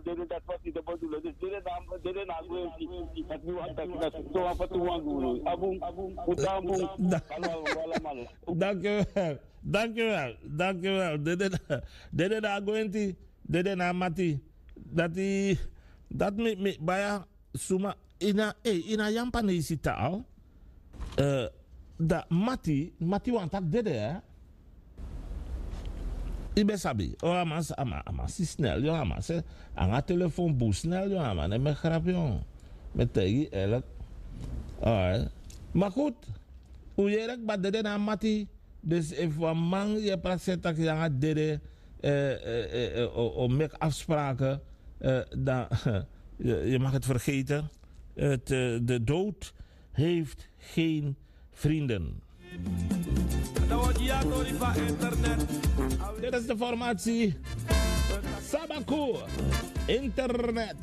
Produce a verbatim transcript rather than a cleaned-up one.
Dede, dati wasi de bodu lo, dus dede na, dede na gwenti. Dati mi wani taki, dati so wan fatu wan guru. Abun, abun, utan bun. Wala, wala, wala, man. Dank u wel. Dank u wel. Dank u wel. Dede na, dede na gwenti. Dede na mati. Dati, dati mi, mi, baya suma. Ina, eh, ina Yampanesi taal. Eh, da mati, mati wani taki dede, eh? I ben sabi, o a man, a man, a man si snel, yo, a man se, anga telefon bun snel, yo, a man, ne mi e grap, yo. Mi e taigi yu eerlijk. Alright. Maar goed, un yere kba dede na mati, dus efu wan man yu e prakseri taki yu anga dede, eh, eh, eh, eh, o, o meki afspraken, eh, dan, je, je mag het vergeten. Het, eh, de dood heeft geen vrienden. Dit is de formatie Sabaku Internet.